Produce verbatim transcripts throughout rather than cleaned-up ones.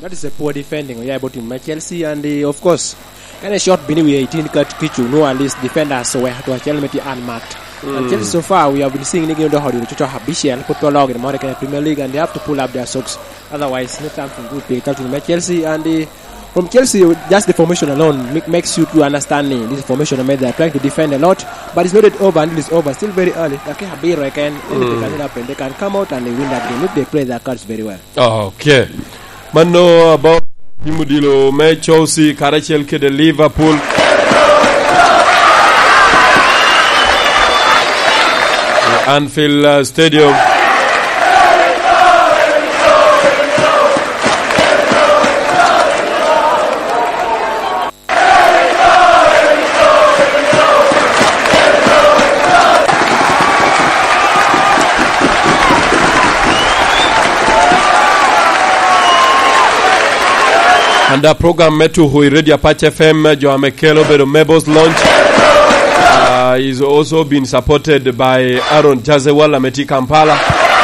That is a poor defending oya i bot team me Chelsea, and, uh, of course, kene shot bini wi eighteen kat kicu, no, at least defenders oweko to acel me ti unmarked. And Chelsea so far, we have been seeing ni gin odoko odiro coco abicel, put pe oloo gin moro kene Premier League, and they have to pull up their socks. Otherwise, not something good pe ka team me Chelsea, and, uh, from Chelsea, just the formation alone make, makes you to understand ni this formation, I mean, they are trying to defend a lot, but it's not yet over until it's over. Still very early. Dakika abiro eken, anything can happen. They can come out and they win that game if they play their cards very well. Okay. Mano about team odilo me Chelsea karacel kede Liverpool. Anfield, uh, Stadium. And the program me tuko i Radio Apac F M, jo ame kelo obedo Mabel's Launch. Uh, is also been supported by Aaron Jazewal ame tye i Kampala.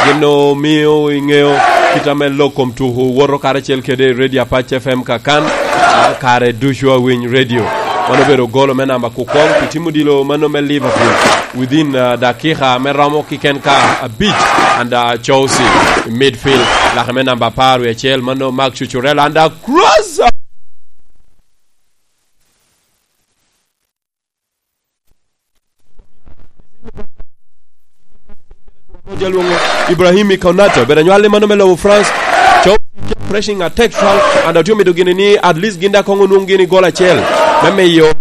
Gin omio iŋeo kit ame lok kom tuko woto karacel kede Radio Apac F M kakan, ah, kare ducu awiny radio. Mano obedo golo me namba kukoŋ pi tim odilo mano me Liverpool within, ah, dakika me romo kiken ka abic, and, ah, Chelsea i midfield, lake me namba apar wie acel, mano Marc Cucurella, and, ah, cross. Ibrahim Konate obedo anywalli mano me lobo France. Chelsea pressing attack strong, and otye omido gini ni at least gin daŋ koŋ onwoŋ gini gol acel me miyo